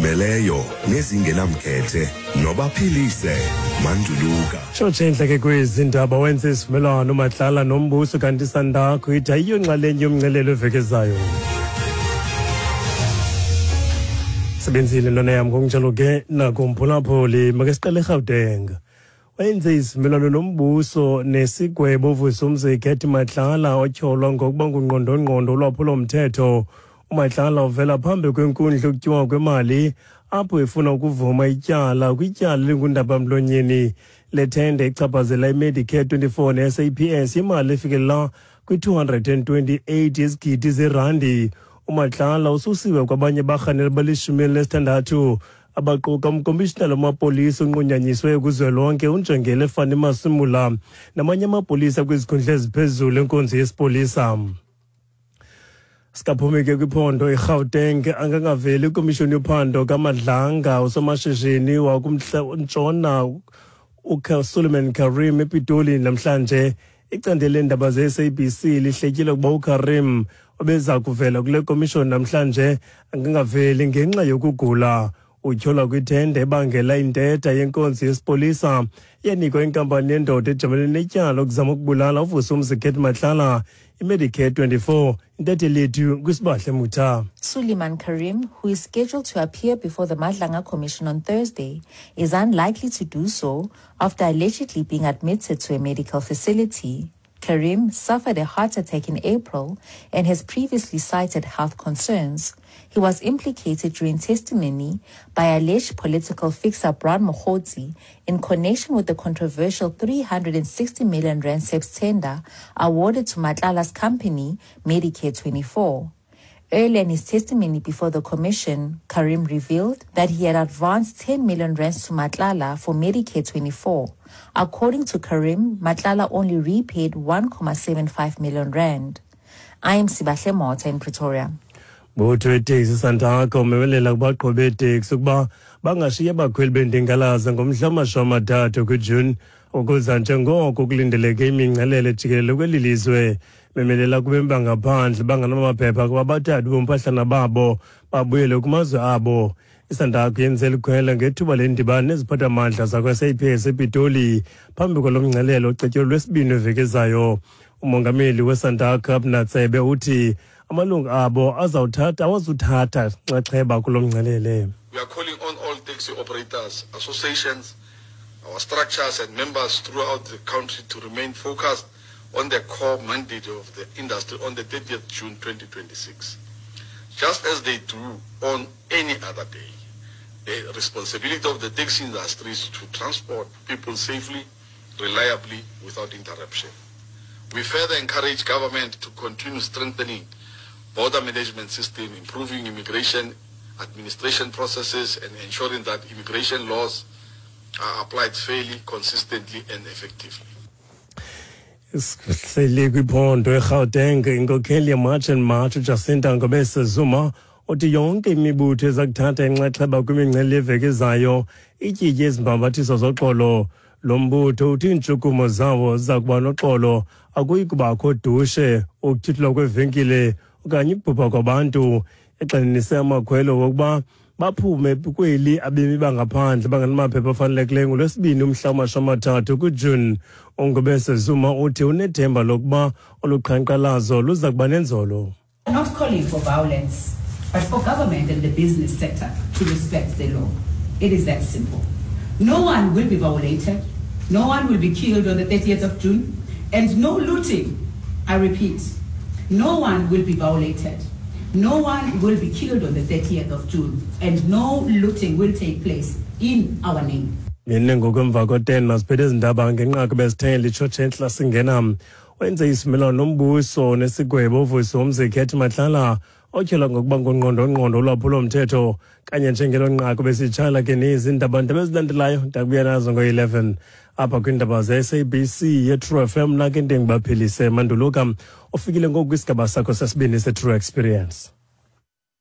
Ezizimeleyo nezingenamkhethe nobaphilise Manduluka. Tshotshe entle ke kwezi ndaba wenze isivumelwano uMatlala nombuso kanti iSandakho ithi ayiyo nxalenye yomncelelo eveki ezayo. Sebenzile ntwana yam ngokunjalo ke nakumphulaphuli make siqale eGauteng. Wenze isivumelwano nombuso nesigwebo uVusumzi Cat Matlala otyholwa ngokuba ngungqondongqondo olwaphulo-mthetho. UMatlala uvela phambi kwenkundla yokutyiwa kwemali apho efuna ukuvuma ityala kwityala elingundabamlonyeni lethenda echaphazela iMedicare 24 neSAPS imali efikelela kwi-228 yezigidi zerandi. UMatlala ususiwe kwabanye barhaneli balishumi elinesithandathu abaquka umkomishinala wamapolisa onqunyanyiswe kuzwelonke unjengele Fani Masimula namanye amapolisa kwizikhundla eziphezulu enkonzo yesipolisa. Sikaphumi ke kwiphondo iGauteng angangaveli ikomishoni yophando kaMadlanga usomashishini wakumntshona uSuleiman Karim ePitoli namhlanje. Icandelo leendaba ze-SABC lihletyile ukuba uKarim obeza kuvela kule komishoni namhlanje angangaveli ngenxa yokugula. Utyholwa kwithende ebangela intetha yenkonzo yesipolisa yanikwa inkampani yendoda ejamele netyala lokuzama ukubulala uVusumzi Cat Matlala iMedicare 24. Intatheli yethu kwisibahle Mutha. Suleiman Karim, who is scheduled to appear before the Madlanga Commission on Thursday, is unlikely to do so after allegedly being admitted to a medical facility. Karim suffered a heart attack in April and has previously cited health concerns. He was implicated during testimony by alleged political fixer Brown Mogotsi in connection with the controversial 360 million rand SAPS tender awarded to Matlala's company, Medicare 24. Earlier in his testimony before the commission, Karim revealed that he had advanced 10 million rands to Matlala for Medicare 24. According to Karim, Matlala only repaid 1.75 million rand. I am Sibahle Mota in Pretoria. Butho weteksi Santaco umemelela kubaqhubi beeteksi ukuba bangashiyi abakhweli bendingalaza ngomhla wamashumi amathathu kuJuni ukuza njengoko kulindeleke imingcelele jikelele kweli lizwe. Memelela kubemi bangaphandle banganamaphepha kuba bathathe ubumpahlana babo babuyele kumazwe abo. ISantaco yenze likhwela ngethuba lendibano neziphathamandla zakwa-SAPS ePitoli phambi kwalo mngcelelo ocetyelwe lwesibini weveki ezayo. Umongameli weSantaco Abner Tsebe uthi amalungu abo azawuthatha awazuthatha nxaxheba kulo mngcelele. We are calling on all taxi operators, associations, our structures and members throughout the country to remain focused on the core mandate of the industry on the 30th June 2026. Just as they do on any other day, the responsibility of the taxi industry is to transport people safely, reliably, without interruption. We further encourage government to continue strengthening border management system, improving immigration administration processes, and ensuring that immigration laws are applied fairly, consistently, and effectively. Sihleli kwiphondo eGauteng inkokheli yeMarch and March uJacinta Ngobese Zuma uthi yonke imibutho eza kuthatha inxaxheba kwimingcele yeveki ezayo ityitye izimbambathiso zoxolo. Lo mbutho uthi iintshukumo zawo ziza kuba noxolo, akuyi kubakho dushe, ukutyhithulwa kweevenkile okanye ukubhubha kwabantu. Egxininise amakhwelo wokuba baphume kweli abemi bangaphandle bangenamaphepha afanelekileyo ngoLwesibini umhla wamashumi amathathu kuJuni. UNgobese Zuma uthi unethemba lokuba olu qhankqalazo luza kuba nenzolo. Not calling for violence, but for government and the business sector to respect the law. It is that simple. No one will be violated. No one will be killed on the 30th of June. And no looting. I repeat, no one will be violated. No one will be killed on the 30th of June. And no looting will take place in our name. Mine ngokwemva ko-10 masiphethe ezi ndaba ngenqaku bezithe litshotshe entla singena. Wenze isivumelwano nombuso nesigwebo uVusi Womzekhethi Matlala otyholwa ngokuba ngungqondongqondo olwaphulo-mthetho kanye njengelo nqaku besitshayela ke nezi ndaba ndaba ezilandelayo ndakubuya nazo ngo-11 apha kwiindaba ze-SABC ye-True FM nake ndingibaphelise manduluka ufikile ngoku kwisigaba sakho sesibini se-True Experience.